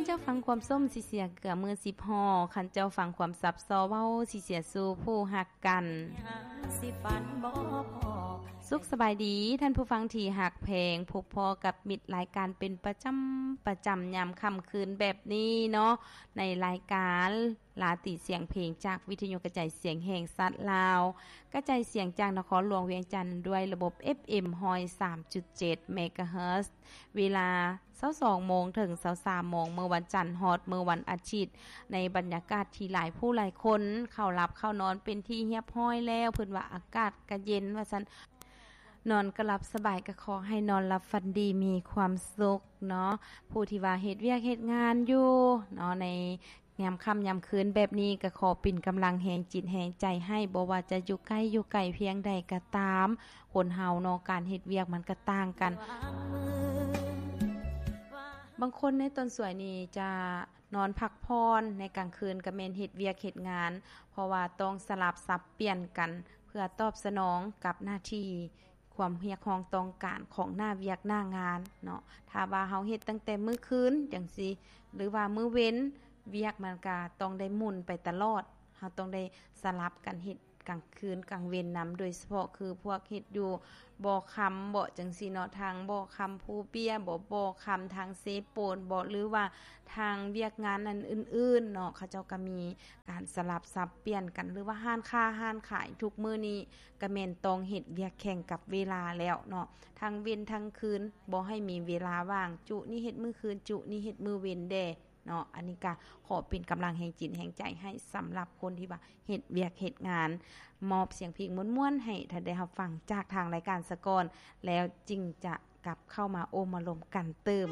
ເຈົ້າຟັງຄວາມສົ້ມຊິເສຍເກືອມືສິບຫໍ່, ຄັນເຈົ້າຟັງຄວາມສັບສໍເວົ້າຊິເສຍສູ່ຜູ້ຮັກກັນ. ສຸກສະບາຍດີທ່ານຜູ້ຟັງທີ່ຮັກແພງ, ພົບພໍ້ກັບມິດລາຍການເປັນປະຈຳ, ປະຈຳຍາມຄ່ຳຄືນແບບນີ້ເນາະ, ໃນລາຍການລາຕີສຽງເພງຈາກວິທະຍຸກະຈາຍສຽງແຫ່ງຊາດລາວ, ກະຈາຍສຽງຈາກນະຄອນຫຼວງວຽງຈັນດ້ວຍລະບົບ ເອັຟເອັມ ຮ້ອຍສາມຈຸດເຈັດ ເມກາເຮີດ, ເວລາ ຊາວສອງໂມງເຖິງຊາວສາມໂມງ ມື້ວັນຈັນຮອດມື້ວັນອາທິດ, ໃນບັນຍາກາດທີ່ຫຼາຍຜູ້ຫຼາຍຄົນເຂົ້າຫຼັບເຂົ້ານອນເປັນທີ່ຮຽບຮ້ອຍແລ້ວ, ເພິ່ນວ່າອາກາດກະເຢັນວ່າຊັ້ນ, ນອນກະຫຼັບສະບາຍ ກະຂໍໃຫ້ນອນຫຼັບຝັນດີມີຄວາມສຸກເນາະ. ຜູ້ທີ່ວ່າເຮັດວຽກເຮັດງານຢູ່ເນາະ ໃນຍາມຄ່ຳຍາມຄືນແບບນີ້ ກະຂໍເປັນກຳລັງແຮງຈິດແຮງໃຈໃຫ້, ບໍ່ວ່າຈະຢູ່ໃກ້ຢູ່ໄກພຽງໃດກະຕາມ, ຄົນເຮົາເນາະ ການເຮັດວຽກມັນກະຕ່າງກັນ. ບາງຄົນໃນຕອນສວຍນີ້ຈະນອນພັກຜ່ອນ, ໃນກາງຄືນກະແມ່ນເຮັດວຽກເຮັດງານ, ເພາະວ່າຕ້ອງສະຫຼັບສັບປ່ຽນກັນ ເພື່ອຕອບສະໜອງກັບໜ້າທີ່, ຄວາມຮຽກຮ້ອງຕ້ອງການຂອງໜ້າວຽກໜ້າງານເນາະ. ຖ້າວ່າເຮົາເຮັດຕັ້ງແຕ່ມື້ຄືນຈັ່ງຊີ້ ຫຼືວ່າມື້ເວັນ, ວຽກມັນກະຕ້ອງໄດ້ໝູນໄປຕະຫຼອດ, ເຮົາຕ້ອງໄດ້ສະຫຼັບກັນເຮັດ ກາງຄືນກາງເວັນນຳ, ໂດຍສະເພາະຄືພວກເຮັດຢູ່ບໍ່ຄຳເບາະ ຈັ່ງຊີ້ເນາະ, ທາງບໍ່ຄຳພູເປ້ຍເບາະ, ບໍ່ຄຳທາງເຊໂປນເບາະ ຫຼືວ່າທາງວຽກງານອັນອື່ນໆເນາະ, ເຂົາເຈົ້າກະມີການສະຫຼັບສັບປ່ຽນກັນ, ຫຼືວ່າຮ້ານຄ້າຮ້ານຂາຍທຸກມື້ນີ້ກະແມ່ນຕ້ອງເຮັດວຽກແຂ່ງກັບເວລາແລ້ວເນາະ, ທັງເວັນທັງຄືນບໍ່ໃຫ້ມີເວລາວ່າງ, ຈຸນີ້ເຮັດມື້ຄືນ, ຈຸນີ້ເຮັດມື້ເວັນແດ່. ເນາະ, ອັນນີ້ກະຂໍເປັນກຳລັງແຮງຈິດແຮງໃຈໃຫ້ສຳລັບຄົນທີ່ວ່າເຮັດວຽກເຮັດງານ, ມອບສຽງເພງມ່ວນໆໃຫ້ທ່ານໄດ້ຮັບຟັງຈາກທາງລາຍການສາກ່ອນ, ແລ້ວຈຶ່ງຈະກັບເຂົ້າມາໂອ້ມາລົມກັນຕື່ມ.